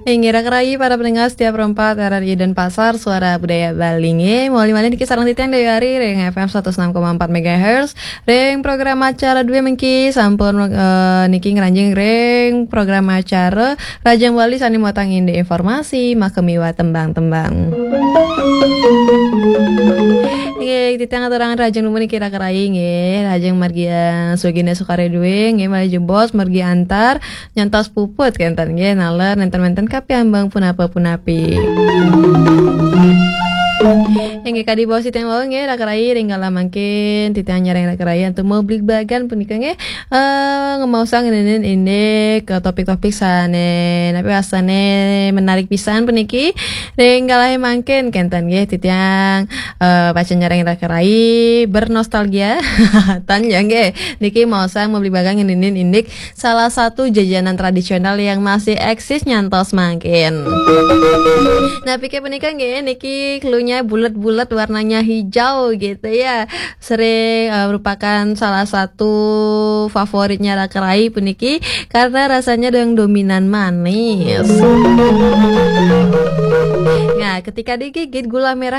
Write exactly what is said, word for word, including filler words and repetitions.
Inggih, raka rayi para pendengar setia Pro empat R R I Denpasar, Suara Budaya Bali. Inggih, malih-malih niki sareng titiang Dewi Ari ring F M satus enam koma empat megahertz. Ring program acara duwe mengki sampun, eh, niki ngranjing ring program acara Rajang Bali sane muatang indik informasi, makamiwah tembang-tembang. Inggih, titiang aturang rajang dumun niki raka rayi nggih, rajang margi, eh, Sugina Sukare duwe nggih, malih jebos margi antar nyantos puput kenten nggih, naler nenten-nenten kapiambang punapa-punapi. Inggih, kadi baos titiang wau nggih, raka rayi ring galah mangkin titiang nyareng raka rayi antuk mabligbagan punika nggih, eh, ngemaosang ngenenin indik, eh, topik-topik sane napi wastane menarik pisan puniki. Ring galah mangkin kenten nggih titiang, eh, pacang nyareng raka rayi bernostalgia. Tan ya nggih. Niki maosang mabligbagan ngenenin indik salah satu jajanan tradisional yang masih eksis nyantos mangkin. Nah, pikir punika nggih, niki cluenya bulat-bulat warnanya hijau gitu ya. Sering, eh, merupakan salah satu favoritnya raka rayi puniki karena rasanya yang dominan manis. Nah, ketika digigit gula merah